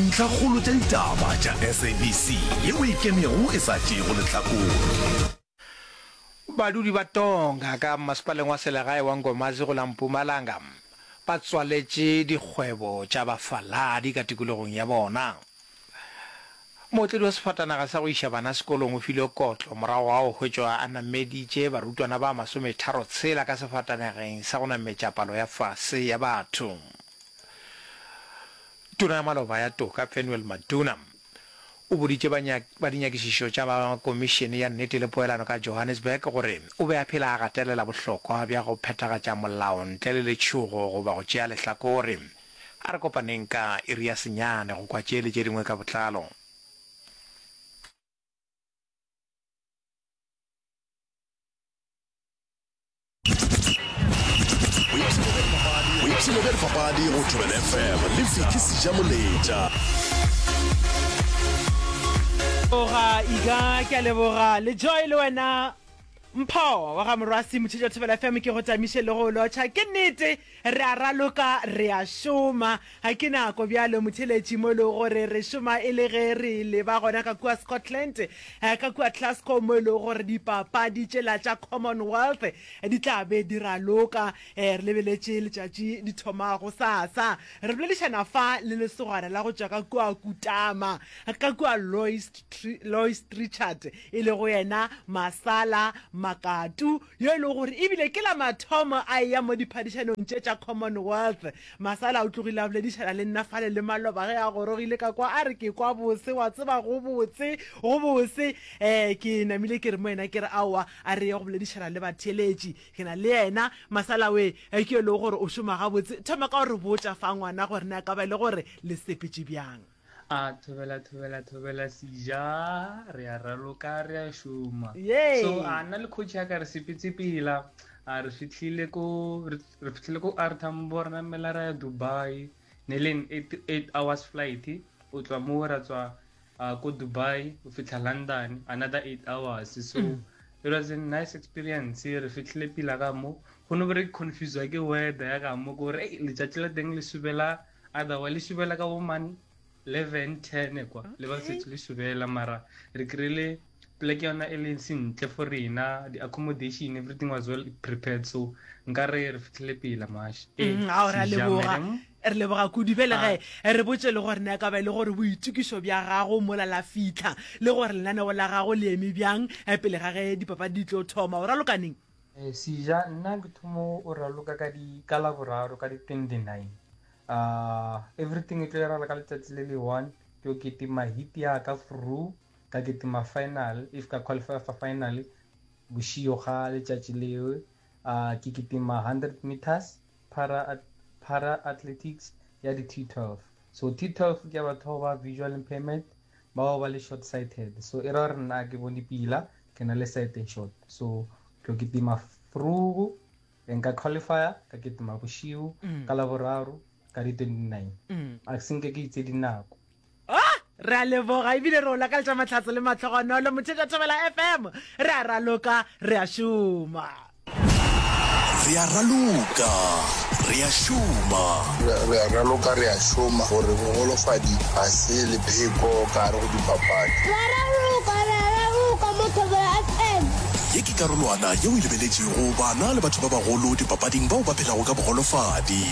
Dintlhakgolo tša ditaba tša SABC yeo e ikemego e sa tšeego lehlakore. Badudi ba Tonga ka mmasepaleng wa selegae wa Nkomazi go la Mpumalanga ba tswaletše dikgwebo tša bafaladi ka tikologong ya bona. Mootledi wa sefatanaga sa go iša bana sekolong o filwe kotlo morago ga go hwetšwa a nameditše barutwana ba masometharotshela ka sefatanageng sa go nametša palo ya fase ya batho. Tona ya maloba ya Toka Penuel Maduna o boditše ba dinyakišišo tša ba Komišene ya Nnete le Poelano ka Johannesburg gore o be a phela a gatelela bohlokwa bja go phethagatša molao ntle le letšhogo goba go tšea lehlakore. A re kopaneng ka iri ya senyane go kwa tše le tše dingwe ka botlalo. Boipshino bja dipapadi go Thobela FM le Vicky Sejamoletša. Leboga Iga, ke a leboga le Joy le wena Mpho wa ga Morwasi Motšhetša Thobela FM ke go tamiše le go lotšha. Ke nnete re a raloka re a šoma. Ga ke nako bjalo motheletši mo e lego gore re šoma e le ge re leba gona ka kua Scotland eh, ka kua Glasgow mo e lego gore dipapadi tšela tša Commonwealth di tla be di raloka. Eh, re lebeletše letšatši di thoma gosasa. Re boledišana fa le lesogana la go tšwa ka kua Kutama ka kua Lois Lois Trichardt, e lego yena Masala Makatu, yo e lego gore e bile ke la mathomo a eya mo diphadišanong tše tša Commonwealth. Masala o tlogile a boledišana le nna fale le maloba ge a gorogile ka kwa, a re ke kwa bose, wa tseba go botse, go bose. Um ke namile ke re mo yena ke re aowa, a re ye go boledišana le batheeletši. Ke na le yena Masala we, ke yo e lego gore o šoma gabotse. Thoma ka go re botša fa ngwana gore na ka ba e le gore le sepetše bjang. A thobela thobela thobela seja re a raloka re a šoma Yay. so a nna le coach ya ka re sepetse pela a re fitlhile ko re re fitlhile ko R Tambo re namela ra ya Dubai ne le 8 hours flight o tswa mo ra tswa uh, ko Dubai o fitlha London another 8 hours so mm. it was a nice experience re fitlhile pila ka mo go no be re confuse ke weather ya ka mo gore letšatši la teng le subela Otherwise le šubela ka bo man 11 10 kwa le ba setse le šubela mara re kry-ile pleke yona e leng sentle for rena di-accommodation everything was well prepared so nka re re fitlhile pela mash ee mm, ao re a leboga re leboga kudu bjale ge ah. re botse le gore ne ka ba e le gore boitokišo bja gago mola la fitlha le gore lenaneo la gago le eme bjang eh, pele ga ge dipapadi di tlo thoma o ralokaneng eh, seja nna ke thomo o raloka ka di ka laboraro ka di 29 Uh, everything e tlo iragala ka letsatsi le le one ke yo ketima hit ya ka fru ka ketima final if ka qualify for final bošio ga letšatši leo uh, ke ketima 100 meters para, para athletics ya di T12 so T12 ke ya batho ba visual impairment bao ba le short sighted so e ra gore nna ke bone pila ke na le sight short so tlo ketima frugu Nka qualifier ka ketima bošiu mm. ka laboraro ka di 29 mm. a senke ke itse dinako ah! re a leboga ebile re o lakaletša mahlatso le matlhogonolo mothetša thobela fm re a raloka re a šoma re a raloka re a šoma re a raloka re a šoma gore bogolofadi ga se lepheko ka gare go dipapadi re a raloka re a raloka mo thobela fm Ye ke karolwana yeo e lebeletšego bana le batho ba bagolo dipapading bao ba phelago ka bogolofadi.